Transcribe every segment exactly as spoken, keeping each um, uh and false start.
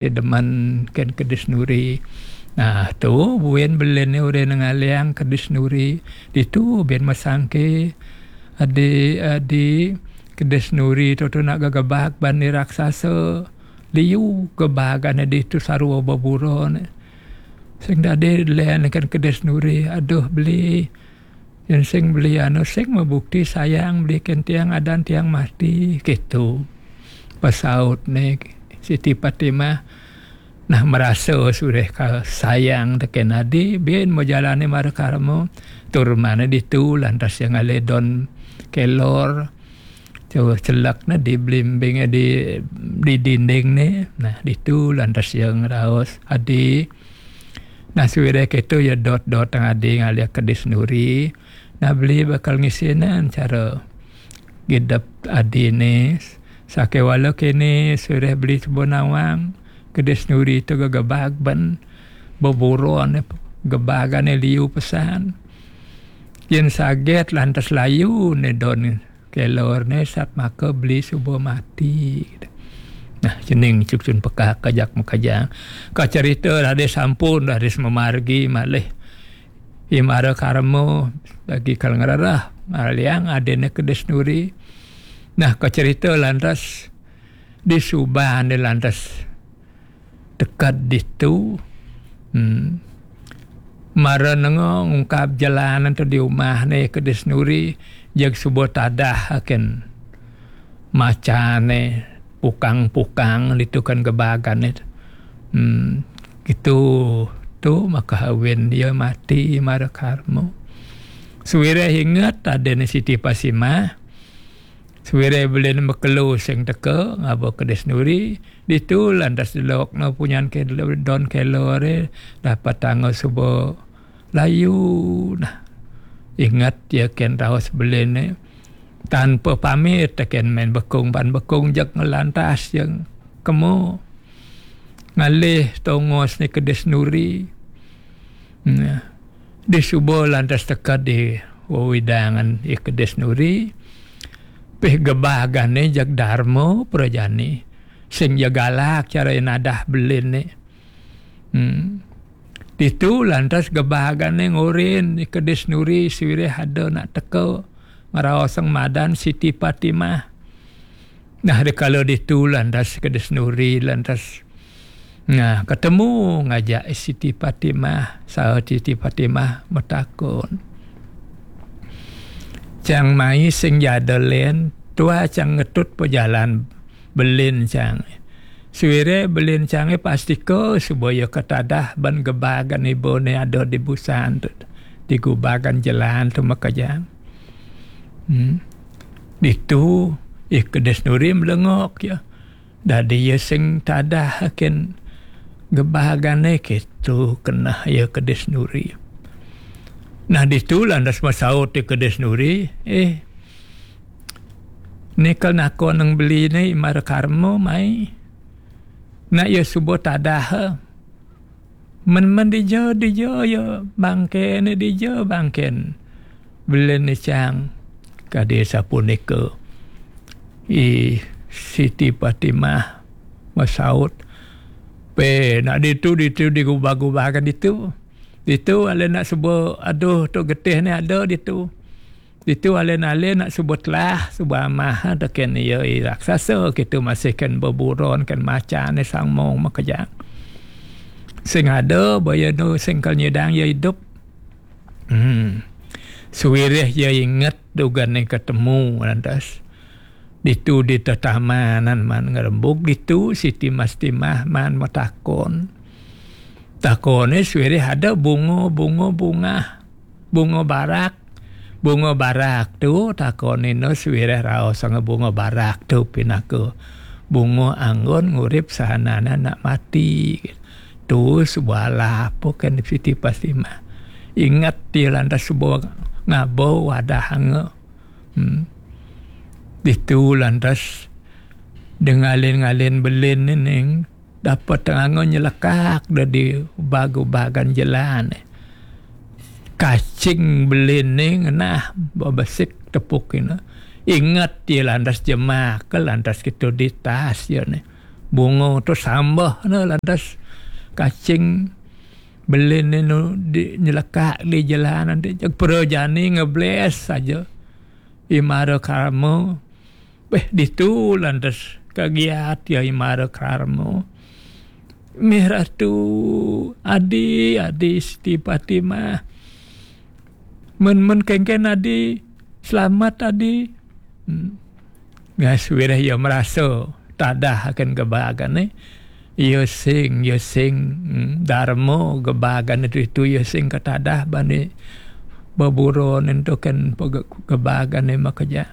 Demen ken kedis nuri. Nah, tu buin belin ni urin ngaliang kedis nuri. Ditu bin masangke, adi, adi, kedis nuri tu, tu nak gegebak ban ni raksasa. Liu gebagan ditu sarua beburon. Sing dadi len ken kedis nuri. Aduh, beli. Yen sing beli anu, sing mebukti sayang beli ken tiang adan tiang mati, kitu. Pesaut ni Siti Fatimah. Nah, merasa sureh ka sayang teken adi, bin mejalani mara karma. Tur mane ditu, lantas yang ale don kelor. Coba celak ni di belimbing, di, di dinding ni. Nah, ditu lantas yang raos adi. Nah, suwireh keto ya dot-dot tang adi ngalih kedis nuri. Nah, beli bakal ngisinan cara gidep adine. Sakewala kene suwireh beli suba nawang kedis nuri tu gegebag ban beburon gebagane liu pesan. Yen saget lantas layu ne don kelor ne sat maka beli suba mati. Nah, cening cucun pekak kajak makajang. Ka cerita dadi sampun dadi sememargi malih. Imara karma bagi kal ngererah ngaliang adine kedis nuri. Nah, ka cerita lantas di suban di lantas teked ditu. Hmm. Mara nenga ngungkap jalan tu di umah ne kedis nuri, jeg suba tadah aken macane pukang-pukang ditu kan gebagan ne. Hmm. Gitu tu maka awin dia mati mara karma. Suwireh inget adine Siti Pasimah. Suwireh belin mekelu sing teka ngaba kedis nuri, ditu lantas delok no punyan ke don kelore dapat tangga suba layu nah. Ingat ya ken raos belin ne. Tanpa pamit teken main bekung pan bekung jak ngelantas yang kemo. Ngalih tongos ni kedis nuri. Nah, di suba lantas teka di wewidangan i kedis nuri. Pih gebagane jag darma prajani. Sing ja galak cara nadah belin ni. Hmm. Ditu lantas gebagane ngurin i kedis nuri suwireh ada nak teka ngeraosang madan Siti Fatimah. Nah, dikala ditu lantas kedis nuri lantas. Nah, ketemu ngajak Siti Fatimah, saha Siti Fatimah metakon. Cang mai sing jada len, tua cang ngetut pejalan belin cang. Suwireh belin cange pastika suba ya ketadah ban gebagan ibane ada di busan tu, di gubagan jelan tu makajang. Hmm. Ditu, i kedis nuri melengok ya. Dadi ya sing tadah aken gebagane ketu kenah ya kedis nuri. Nah, ditu lantas masaut i kedis nuri, eh, ni kal nako nang beli ni mara karma mai. Nak ya suba tadah. Men-men dija, dija ya bangke ni dija bangken. Belin ni cang. Kadi sapunika. I Siti Fatimah masaut. Pe nak ditu, ditu digubah-gubahkan ditu. Ditu ale nak suba aduh tu getih ni ada ditu. Ditu ale-ale nak suba telah, suba amah teken iya i raksasa kitu masih ken beburon ken macan ni sangmong makejang. Sing ada baya nu sing kal nyidang iya idup. Hmm. Suwireh iya inget dugan ni ketemu lantas. Ditu di tetamanan man ngerembuk ditu Siti Mastimah man metakon. Takone suwireh ada bunga-bunga bungah. Bunga barak. Bunga barak tu takonina suwireh raosanga bunga barak tu pinaka bunga anggon ngurip sahanana nak mati. Tu suba alap ken Siti Pastimah. Ingat dia lantas suba ngaba wadahanga. Hmm. Ditu lantas dengalin-ngalin belin ni ning dapat tenganga nyelekak dadi bagu bagan jelan. Kacing belin ni ngenah babesik tepuk ina. Ingat dia lantas jemak, lantas kita di tas dia ni. Bunga tu sambah ne lantas kacing belin ne nu di, nyelekak di jelanan tu. Jeg prajani ngebles saja. I Mara Karma. Beh, ditu lantas kagiat ya I Mara Karma. Mih Ratu, adi, adi Siti Fatimah. Men, men kengken adi, selamat adi. Hmm. Ngas wireh ya merasa tadah akan gebagan, eh. Ya sing, ya sing, hmm, Darma gebagan itu, itu ya sing ketadah bani beburon itu kan pege-, gebagan ne makeja.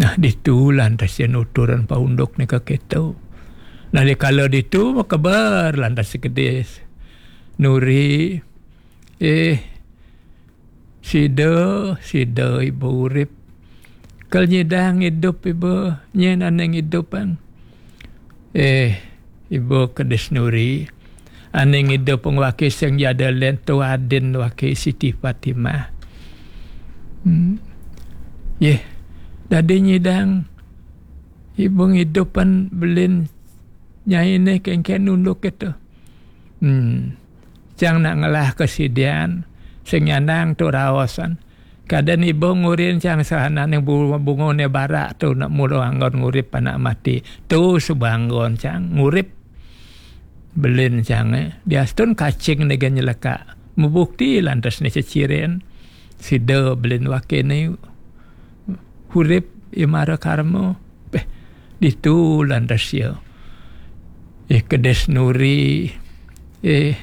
Nah, ditu lantas ya nuturan paunduk ne ke keto. Nah, dikala ditu makeber lantas si kedis Nuri, eh, sida, sida iba urip. Kal nyidang idup iba, nyen aneng idupan. Eh, iba kedis Nuri. Aneng idup waki sing jada len tu adin waki Siti Fatimah. Hmm. Yeh, dadi nyidang iba ngidupan belin nyai ne kengken unduk itu. Hmm. Cang nak ngelah kesidian, sing nyanang tu raosan. Kaden iba ngurin cang sahana ning bu-, bunga ne barak tu nak mula anggon ngurip anak mati. Tu sebanggon cang ngurip. Belin cang, eh. Diastun kacing ne gen nyelekak. Mebukti lantas ne ceciren. Sida belin waki ne hurip I Mara Karma. Beh, ditu lantas ya. Eh, kedis Nuri. Eh,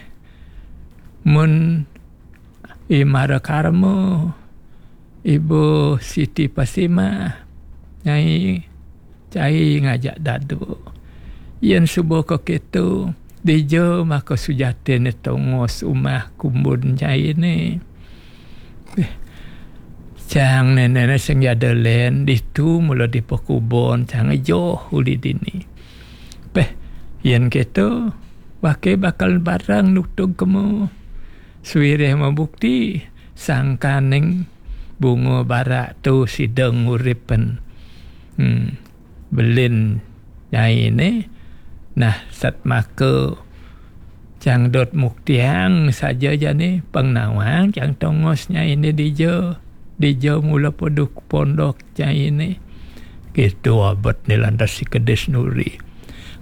mun I Mara Karma, Ibu Siti Fatimah, nyai cai ngajak dadu. Yen suba ka keto, dija maka sujatin tongos umah kumbun nyai ne. Eh, cang nene ne sing jada len, ditu mula dipekubon, cang joh uli dini. Peh, yen keto, wake bakal barang nutug kemo. Suwireh mabukti, sangkaning bunga barak tu sida nguripen. Hmm, belin nyai ne. Nah, satmaka cang dot muktiang saja jani pang nawang cang tongos nyai ne dija. Dija mula paduk pondok nyai ne. Kitu abet ne lantas si kedis Nuri.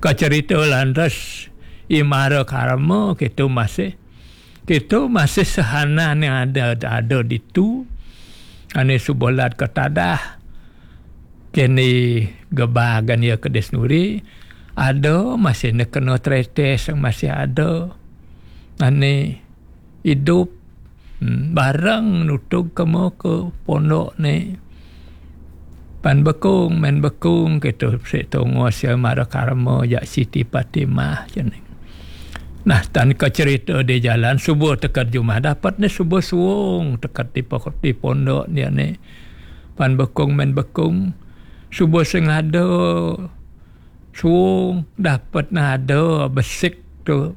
Kacerita lantas I Mara Karma kitu masih. Kitu masih sahana ne ada, ada ditu. Ane subolat ketadah. Kene gebagan ya kedis Nuri. Ada masih ne kena tretes masih ada. Ane idup. Hmm, bareng nutug kemo ke pondok ne. Pan bekung, men bekung, kitu si tongos ya Mara Karma jak Siti Fatimah, jeneng. Nah, tan ka cerita di jalan, suba teka jumah, dapat ne suba suung, teka di pokok, di pondok dia ne. Pan bekung, men bekung, suba sing ada suung, dapat ne ada besik tu.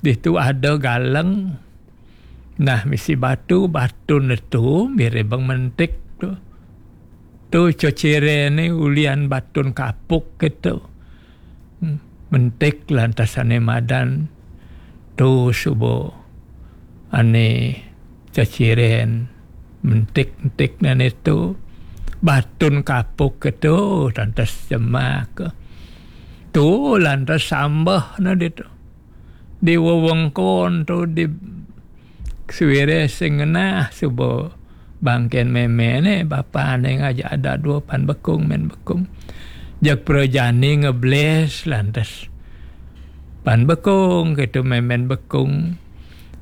Ditu ada galeng. Nah, misi batu, batu ne tu, mirip bang mentik tu. Tu cocire ne ulian batun kapuk kitu. Hmm, mentik lantas ane madan. Tu suba ane ceciren mentik-mentik nane tu. Batun kapuk kitu, lantas jemak. Tu lantas sambah ne ditu. Di wewengkon tu di suwire sing ngenah suba bangken meme ne, bapa ne ngajak ada dua pan bekung, men bekung. Jak prajani ngebles lantas. Pan bekung, kitu memen bekung.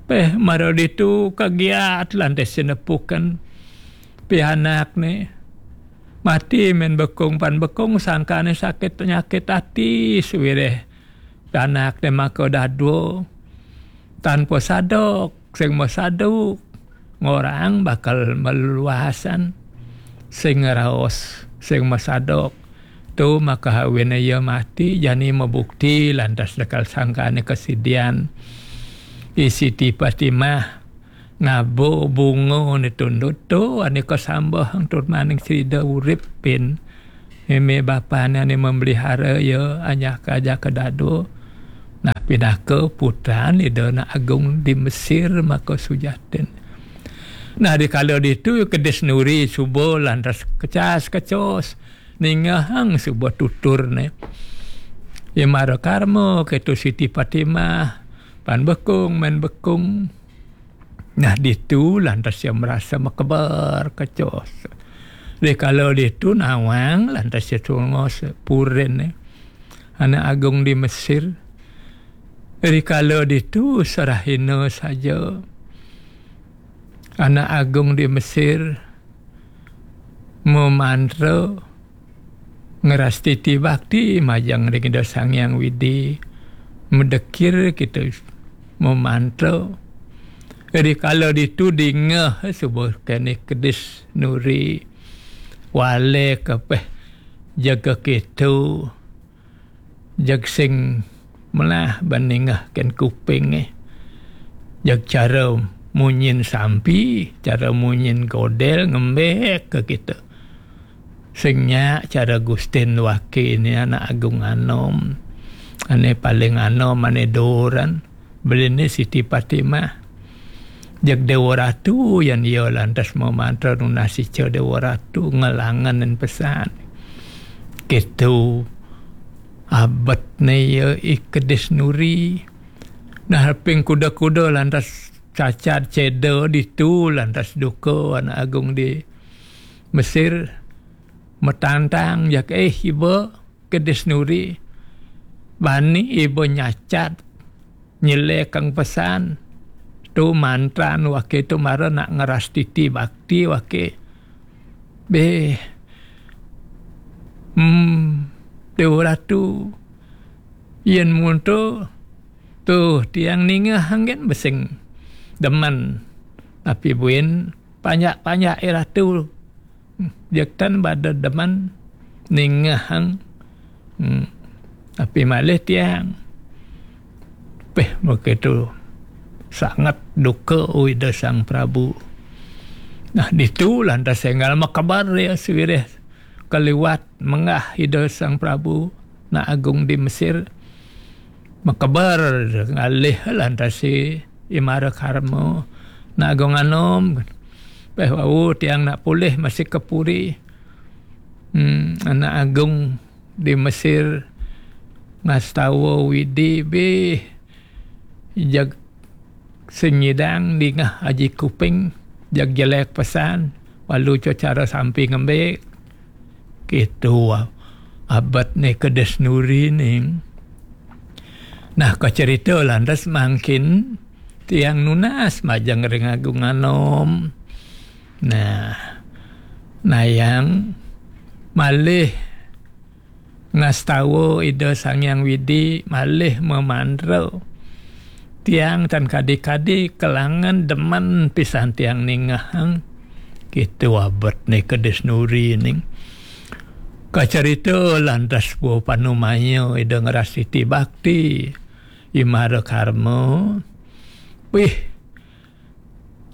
Peh, mara ditu kagiat lantas sinepukan. Peh anak ne. Mati men bekung, pan bekung sangkane sakit penyakit ati suwireh. Anak ne maka dadua. Tanpa sadok, sing masaduk. Ngorang bakal meluasan. Sing raos, sing masadok. Tu maka awine iya mati, jani mabukti lantas dekal sangkane kesidian. I Siti Fatimah ngaba bunga ne tundut tu, ane kasambah tur maning sida urip pin. Meme bapane ane memelihara ia, anyaka ajaka dado. Nah, pinaka putran Ida Anak Agung di Mesir maka sujatin. Nah, dikala ditu kedis Nuri suba lantas kecas-kecos ningehang suba tuturne. Imara Karma keto Siti Fatimah, pan bekung, men bekung. Nah, ditu lantas ia merasa makeber kecos. Dikala ditu nawang lantas ia tungos purin, eh, Anak Agung di Mesir. Dikala ditu serahina saja Anak Agung di Mesir memantra ngerastiti bakti majeng ring Ida Sang Hyang Widi, medekir kita memantra. Dikala ditu dingeh suba kene kedis Nuri, wale kepeh jaga keto, jag sing melah ban ningeh ken kuping, eh. Jag cara munyin sampi, cara munyin godel ngembek ke kita. Sing nyak cara Gustin waki ni Anak Agung anom. Ane paling anom, ane doran. Beli ni Siti Fatimah. Jag Dewa Ratu yan ia lantas memantra nunas ica Dewa Ratu ngelangenin pesan. Kitu abet ne ia I Kedis Nuri. Nah, ping kuda-kuda lantas cacat ceda ditu, lantas duka Anak Agung di Mesir. Metantang jak, eh, iba Kedis Nuri. Bani iba nyacat nyelekang pesan. Tu mantran wake tu mara nak ngerastiti bakti wake. Beh. Hmm, Dewa Ratu. Yen munto, tu tiang ningeh anggen besing demen. Tapi buin panjak-panjak I Ratu. Jektan bada demen ningehang. Hmm. Tapi malih tiang. Peh, begitu sangat duka Ida Sang Prabu. Nah, ditu lantas enggal makebar ia sawireh kaliwat menggah Ida Sang Prabu Anak Agung di Mesir. Makebar ngalih lantas I Mara Karma, Anak Agung anom. Peh wau tiang nak pulih masih ke puri. Hmm, Anak Agung di Mesir ngastawa Widi bih. Jag sing nyidang dingeh aji kuping, jag jelek pesan, walu co cara sampi ngembek. Kitu abet ne Kedis Nuri ning. Nah, kacerita lantas mangkin tiang nunas majeng ring Agung anom. Nah, nayang malih ngastawa Ida Sang Hyang Widi malih mamantra. Tiang tan kadi-kadi kelangan demen pisan tiang ningehang. Kitu abet ne Kedis Nuri ning. Kacerita lantas buah panumaya Ida ngerastiti bakti. I Mara Karma. Wih,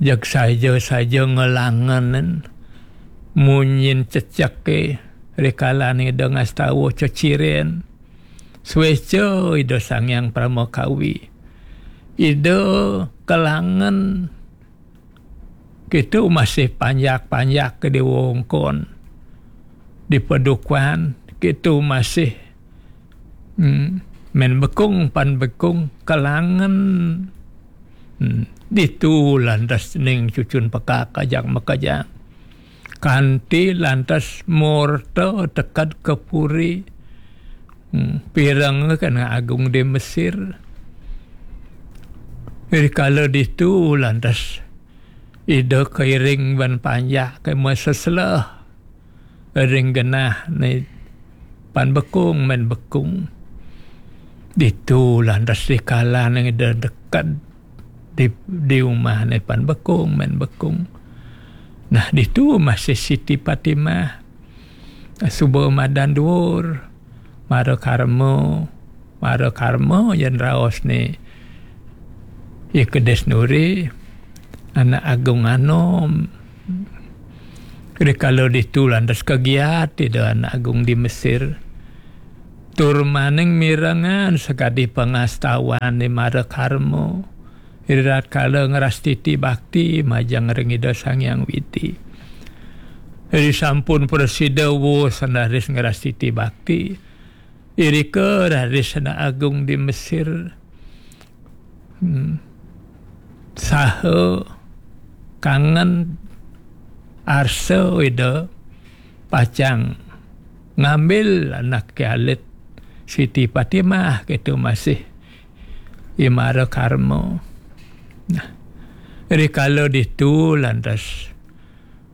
jag saja-saja ngelangenin munyin ceceke rikalan Ida ngastawa ceciren. Sueca Ida Sang Hyang Parama Kawi. Ida kelangen kitu masih panjak-panjak ke di wongkon, di padukuhan, kitu masih, hmm, men bekung pan bekung kelangen. Hmm, ditu lantas ning cucun pekak kajang makajang. Kanti lantas morta teked ke puri. Hmm, pireng kan Agung di Mesir. Rikala ditu lantas Ida keiring ban panjak ke meseselah ring genah ne pan bekung men bekung. Ditu lantas dikala ne Ida deked di, di umah ne pan bekung men bekung. Nah, ditu masih Siti Fatimah. Suba madan duur, Mara Karma, Mara Karma yen raos ne. I Kedis Nuri, Anak Agung anom. Rikala ditu lantas kagiat Ida Anak Agung di Mesir. Tur maning mirengang sakadi pangastawan I Mara Karma. Ritatkala ngrastiti bakti majeng ring Ida Sang Hyang Widi. Ri sampun prasida wus sandaris ngrastiti bakti. Irika raris Anak Agung di Mesir. Hmm. Saha kangen arsa Ida pacang ngambil anake alit Siti Patimah, keto masih I Mara Karma. Nah, rikala ditu lantas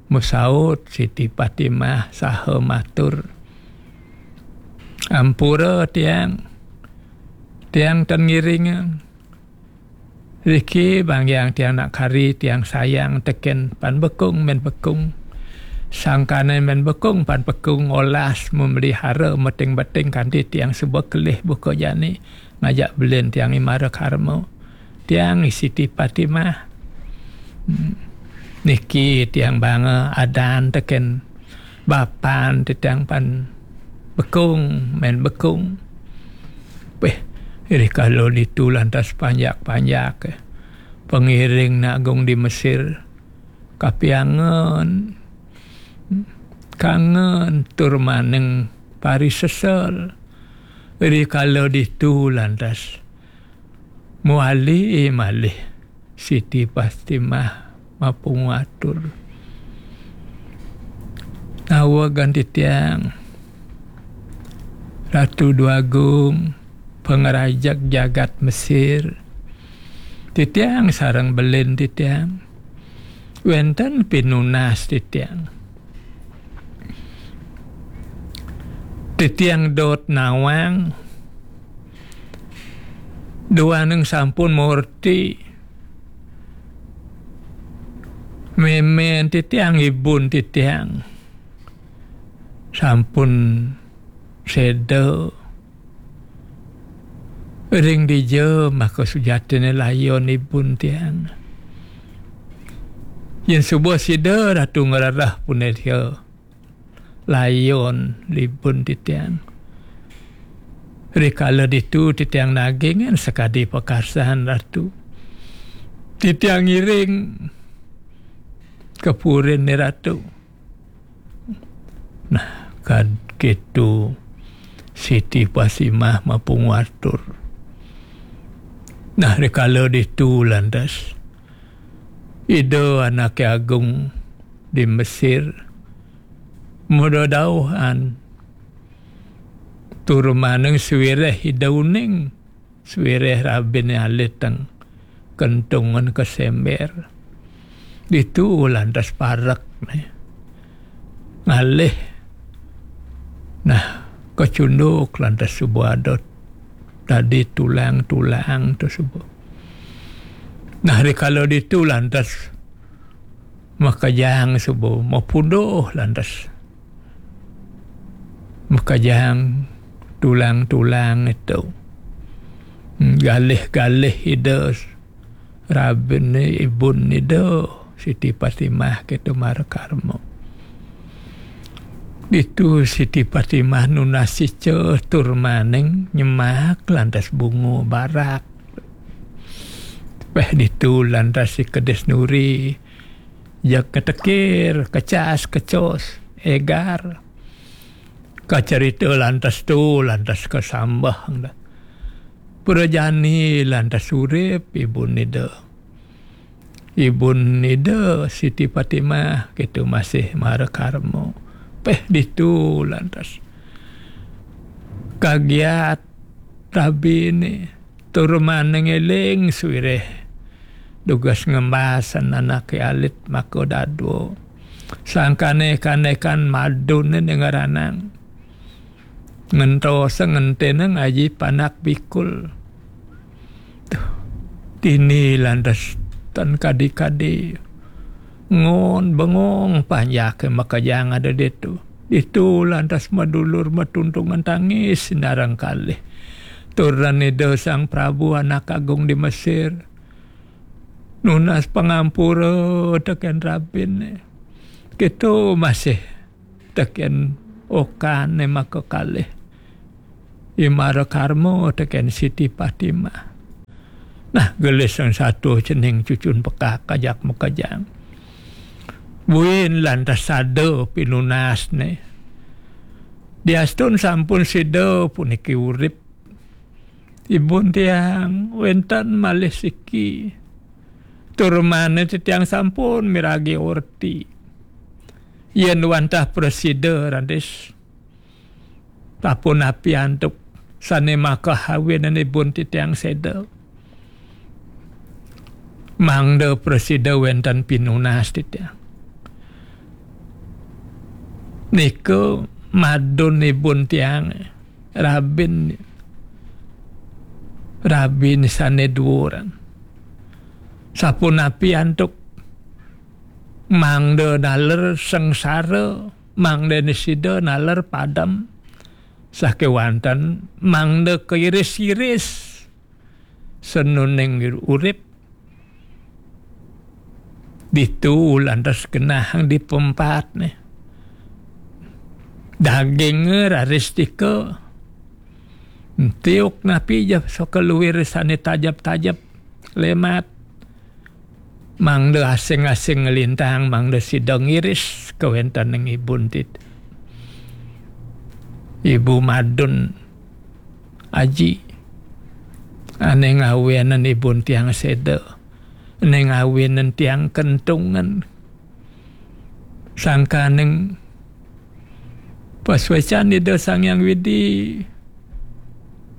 masaut Siti Patimah saha matur, "Ampura tiang, tiang tan ngiringang. Riki banggiang tiang nak kari, tiang sayang teken Pan Bekung Men Bekung. Sangkane Men Bekung Pan Bekung olas memelihara meting-beting kanti tiang suba kelih buka jani ngajak belin tiang I Mara Karma. Tiang I Siti Patimah. Hmm. Niki tiang banga adan teken bapan titiang Pan Bekung Men Bekung." Peh, rikala ditu lantas panjak-panjak, eh, pangiring Anak Agung di Mesir kapiangen, kangen tur maning parisesel. Rikala ditu lantas mawali malih Siti Patimah mapangatur. Nawegang titiang, Ratu Déwa Agung, pangrajeg jagat Mesir, titiang sareng belin titiang, wenten pinunas titiang. Titiang dot nawang, duaning sampun murti, memen titiang, ibun titiang sampun seda ring dija, maka sujatine layon ibun tiang. Yen suba sida Ratu ngrereh punika layon ibun titiang. Rikala ditu titiang nagingin sakadi pakarsan Ratu. Titiang ngiring ka purine Ratu. Nah, kad keto Siti Patimah mapangatur. Nah, rikala ditu lantas Ida Anake Agung di Mesir madauhan tur maning sawireh Ida uning, sawireh rabine alit teng kentungan kasember. Ditu lantas parek, né. Ngalih. Nah, kacunduk lantas suba ada dadi tulang-tulang to suba. Nah, rikala ditu lantas makejang suba, mapunduh lantas makejang tulang-tulang to. Hmm, galih-galih Ida rabine, ibun Ida Siti Patimah keto mara karma. Ditu Siti Patimah nunas ica tur maning nyemak lantas bunga barak. Peh ditu lantas I Kedis Nuri, jeg katekir, kecas, kecos, egar. Kacarita lantas tu, lantas kasambah, dah. Prajani lantas urip, ibun Ida. Ibun Ida Siti Patimah, keto masih mara karma. Peh ditu lantas kagiat rabine, tur maning eling sawireh dugas ngembasan anake alit maka dadua. Sangkane kanekan madune ngranang. Ngentos ngentene ngaji panak bikul. Tuh, dini lantas tan kadi-kadi. Ngon bengong panjake makejang ada ditu. Ditu lantas madulur matuntungan tangis sinareng kalih. Turan Ida Sang Prabu Anak Agung di Mesir. Nunas pangampura teken rabine. Kéto masih tekén okan né makakalih. I Mara Karma tekén Siti Fatimah. Nah, gelis sing satua cening cucun pekak ajak makejang. Buin lantas sada pinunasné. Diastun sampun sida puniki urip. Ibun tiang wénten malih siki. Tur mane titiang sampun miragi orti. Yén wantah prasida raris, sapunapi antuk sané makahawinan ibun titiang séda. Mangda prasida wénten pinunas titiang. Nika madun ibun tiang, rabin, rabin sané duuran. Sapunapi antuk mangda naler sengsara, mangda sida naler padem sakéwanten, mangda kairis-iris senuning urip. Ditu lantas genahang dipempatné. Dagingé raris tika. Entiuk napi ja saka luir sané tajep-tajep, lemat. Mangda asing-asing nglintang, mangda sida ngiris kawéntening ibun tit-, ibu madun aji. Ané ngawinang ibun tiang séda. Ané ngawinang tiang kentungan. Sangkaning pasuécan Ida Sang Hyang Widi.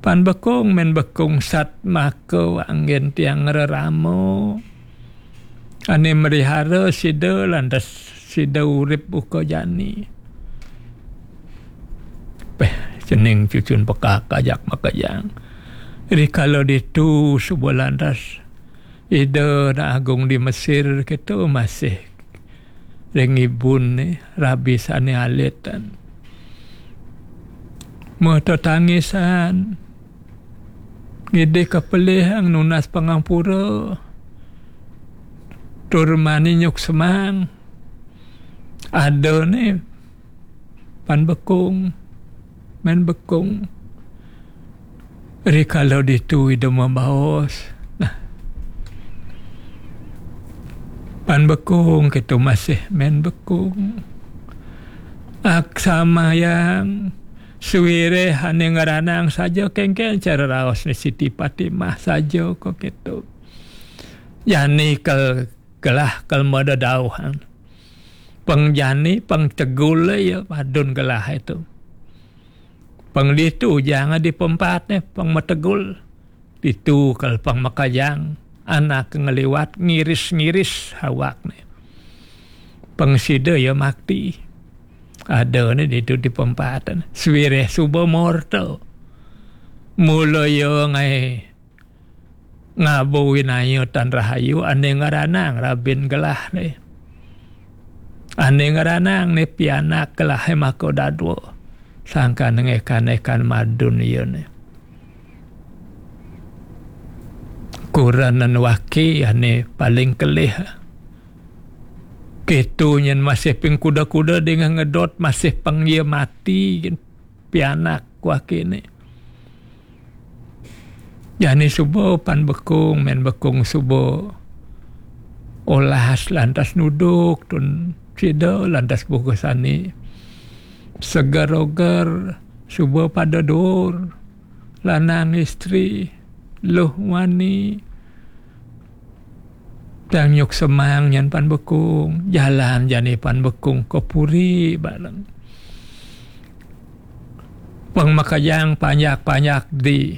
Pan bekung, mén bekung sat maka anggén tiang rerama. Ané melihara sida lantas sida urip uka jani. Péh, cening cucun pekak ajak makejang. Rikala ditu suba lantas Ida Anak Agung di Mesir kéto masih ring ibuné rabi sané alitan. Mata tangisan. Ngidih kapelihang nunas pangampura. Tur mani nyuksemang. Adané pan bekung, mén bekung. Rikala ditu Ida mabaos. Nah. Pan bekung kéto masih mén bekung. Aksamayang suwiréh ané ngranang saja kéngkén cara raosné Siti Fatimah saja kok kéto. Jani kel gelah kel madadauhan. Pang jani, pang tegul ya, padun gelah itu. Pang ditu janga dipempatné, pang mategul. Ditu kal pang makajang, anak ngliwat ngiris-ngiris awakné. Pang sida ya makti. Adané ditu dipempatan. Suwiréh suba morta. Mula ya ngaé ngaba winaya tan rahayu ané ngranang rabin gelahé. Ané ngranang né pianak gelahé maka dadua. Sangkan ngékan-ékan madun iyané. Kurenan waki ané paling kelih. Kéto nyén masih ping kuda-kuda dingeh ngedot, masih pang iya mati, pianak wakiné. Jani suba pan bekung, mén bekung suba olas lantas nuduk, tun sida lantas buka sani. Seger-oger, suba pada dur, lanang istri, luh wani. Tiang nyuksemang nyén pan bekung, jalan jani pan bekung ka puri bareng. Pang makejang panjak-panjak di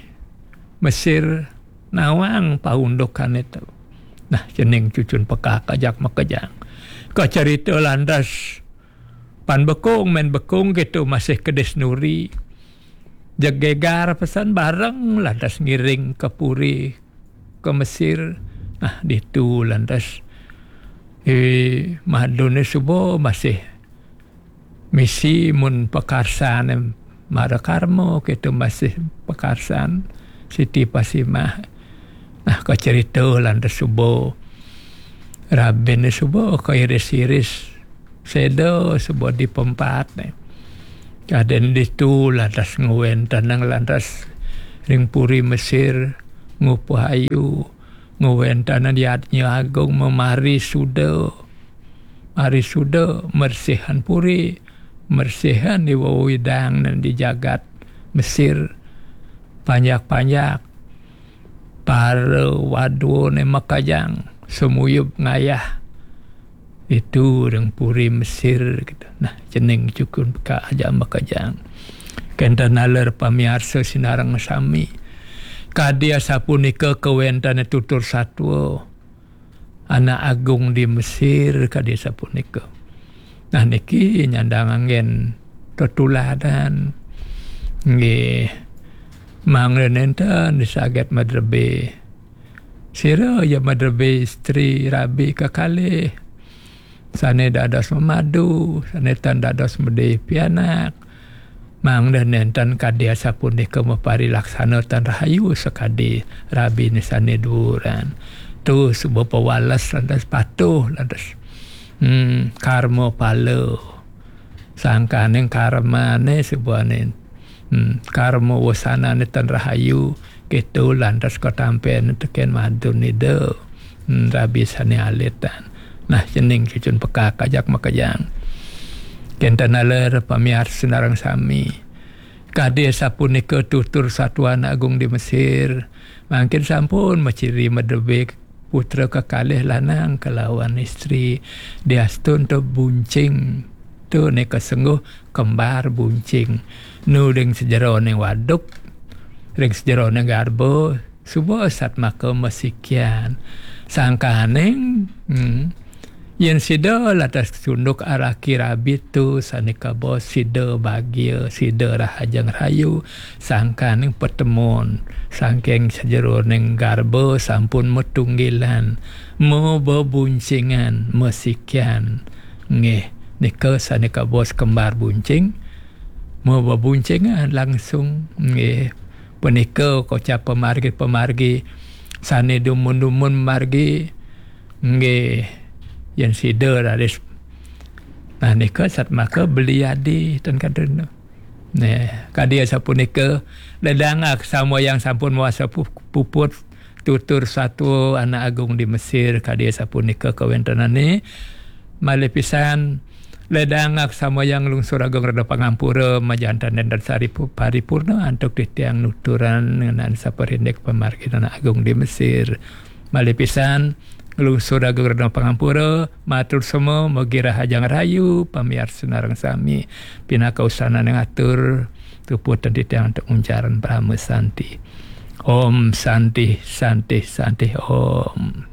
Mesir nawang paundukané to. Nah, cening cucun pekak ajak makejang. Kacarita lantas pan bekung, mén bekung kéto masih kedis nuri. Jeg gegar pesan bareng lantas ngiring ka puri ka Mesir. Nah, ditu lantas, eh, maduné suba masih misi mun pakarsané Mara Karma, kéto masih pakarsan Siti Fatimah. Nah, kacarita lantas suba. Rabiné suba kairis-iris. Seda suba di pempatne. Kadén ditu lantas ngwentenang lantas ring puri Mesir, ngupuh ayu, ngwentenang yadnya agung, memari suda. Mari suda mersihan puri, mersihan di wewidang di jagat Mesir, panjak-panjak, para wadwane makejang, sumuyub ngayah. Itu ring puri Mesir, gitu. Nah, cening cukun peka aja makejang. Kenten naler pamiarsa sinareng sami. Kadi asapunika kawentane tutur satua, anak agung di Mesir, kadi asapunika. Nah, niki nyandang anggen tetuladan. Nggih. Mangda nenten di saget madrebe. Sira ya madrebe istri rabi kekalih. Sane dados memadu, sane tan dados mede pianak. Mangda nenten kadi asapunika maparilaksana tan rahayu sakadi rabine sane duuran. Tu suba pawales lantas patuh lantas. Hmm, karma pala. Sangkaning karmane subaning. Hmm, karma wasanane tan rahayu, keto lantas katampen teken madun Ida. Hmm, rabi sane alitan. Nah, cening cucun pekak ajak makejang. Kenten naler pamiarsa sinareng sami. Kadi sapunika tutur satuan agung di Mesir. Mangkin sampun maciri madebik putra kekalih lanang kalawan istri. Diastun to buncing. Tu nika sengguh kembar buncing. Nu ring sejeroning waduk, ring sejeroning garba, suba satmaka masikian. Sangkaning, hmm, yen sida lantas tunduk araki rabi tu sane kaba sida bagia, sida rahajeng rayu, sangkaning patemon, sangking sejeroning garba sampun matunggilan, mabebuncingan, masikian. Nggih, nika sane kaba kembar buncing, mabebuncingan langsung. Nggih, punika kocap pamargi-pamargi sane dumun-dumun margi. Nggih, yen sida raris. Nah, nika satmaka beli adi ten kadena. Nah, kadi asapunika, ledang aksamayang sampun mawasa pu-, puput tutur satua anak agung di Mesir, kadi asapunika kawentenane. Malih pisan, ledang aksamayang lungsur agung rena pangampura, majanten nenten sari pu-, paripurna antuk titiang nuturan ngenani saparindik pamargin anak agung di Mesir. Malih pisan, nglungsur agung rena pangampura, matur sema, mugi rahajeng rayu, pamiarsa sinareng sami, pinaka usananing atur, tuputan titiang antuk nguncaran Parama Santi. Om Santi, Santi, Santi, Om.